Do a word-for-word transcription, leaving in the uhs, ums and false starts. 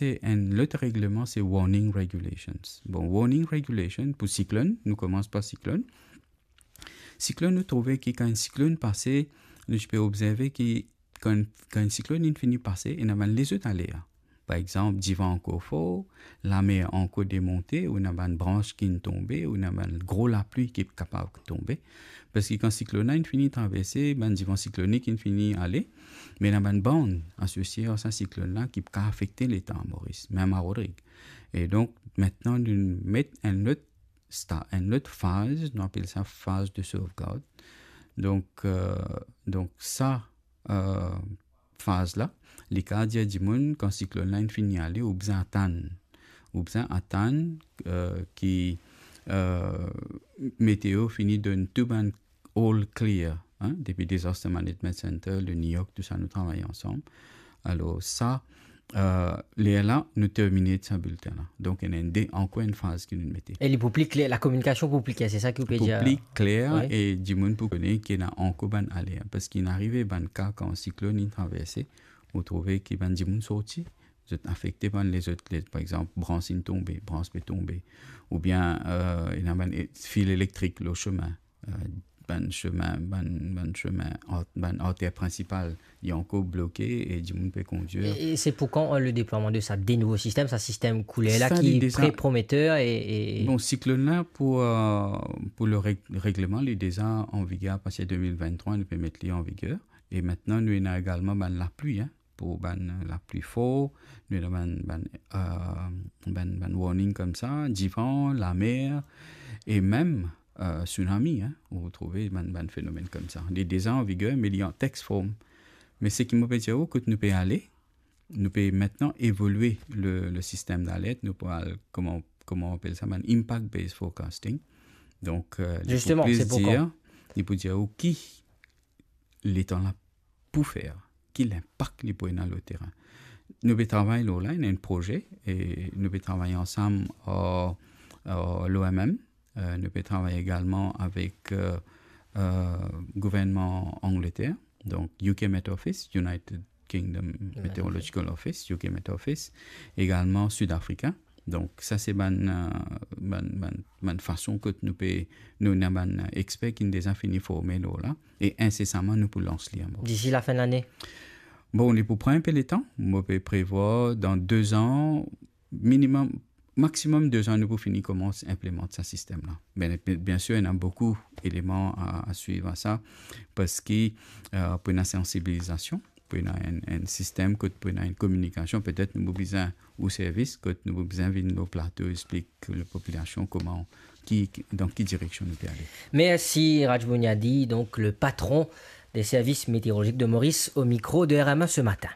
se enn lot regleman, se warning regulations. Bon, warning regulation pou siklonn, nou koumans par siklonn. Siklonn, nou trouve ki kan enn siklonn pase, nou ti pe obzerve ki kan, kan enn siklonn inn fini pase, ena bann lezot aler. Par exanp, divan ankor for, lamer ankor demonte, ou ena bann brans ki'nn tonbe, ou ena bann gro lapli ki kapav tonbe. Parski kan siklonn la inn fini traverse, bann divan siklonik inn fini ale, me ena bann bann asosie ar sa siklonn la ki pou kav afekte leta Moris, mem a Rodrig. E donk, mintnan, nou met enn lot sta-, enn lot faz, nou apel sa faz de sovgard. Donk, euh, donk sa, euh, faz la, li kav dir dimoun, kan siklonn la inn fini ale, ou bizin atann. Ou bizin atann, euh, ki, euh, meteo fini donn tou bann all clear, hein, depi Disaster Management Center, le NEOC, tou sa nou travay ansam. Alor sa, euh, lerla, nou termine sa bilten la. Donk, ena enn de, ankor enn faz ki nou mete. E li pou pli kler, lakominikasion pou pli kler, se sa ki ou pe dir? Pou pli kler, wi, e dimoun pou kone ki ena ankor bann aler. Parski inn arive bann ka kan siklonn inn traverse, ou trouve ki bann dimoun sorti, zot afekte bann lezot, le-, par exanp, brans inn tonbe, brans pe tonbe, oubien, euh, ena bann e-, fil elektrik lor sime, euh, bann sime, bann, bann sime, art-, bann arter prinsipal, li ankor bloke e dimoun pe kondir. E, e se pou kan, euh, le deplwaman de sa de nouvo sistem, sa sistem kouler la ki pre-prometer e, e... Bon, siklonn la pou, euh, pou le reg-, regleman, li deza an viger apartir de mil venntrwa, nou pe met li an viger. E mintnan, nou ena egalman bann lapli, hein, pou bann lapli for, nou ena bann, bann, euh, bann, bann warning koumsa, divan, lamer, e mem, euh, tsunami, hein, ou trouve bann, bann fenomenn koumsa. Li deza an viger, me li an text form. Me seki mo pe dir ou, kot nou pe ale, nou pe mintnan evolie le, le sistem dalert, nou pou al, kouma, kouma apel sa, bann impact-based forecasting. Donk, euh, li pou plis dir, li pou dir ou ki letan la pou fer, ki linpak li pou ena lor terin. Nou pe travay lor la, ena enn proze, e nou pe travay ansam ar, ar l'O M M, euh, nou pe travay egalman avek, euh, euh, gouvernman Angleter, donk U K Met Office, United Kingdom Meteorological Office, U K Met Office, egalman Sud Afrika. Donk, sa se bann, euh, bann, bann, bann fason kot nou pe, nou ena bann, euh, exper ki'nn deza fini forme lor la, e insesaman nou pou lans li ankor. Disi lafin lane? Bon, li pou pran enpe letan. Mo pe prevwar dan de zan, minimem, maximum de zan, nou pou fini koumans inplimant sa sistem la. Bien, bien sir, ena boukou eleman a, a swiv a sa, parski, euh, pou ena sansibilizasion, pou ena enn, enn sistem kot pou ena enn kominikasion, petet nou pou bizin ou servis, kot nou pou bizin vinn lor plato, explik lapopilasion kouma, ki, ki, dan ki direksion nou pe ale. Mersi Raj Boniadi, donk le patron des services météorologiques de Maurice, au micro de R M A ce matin.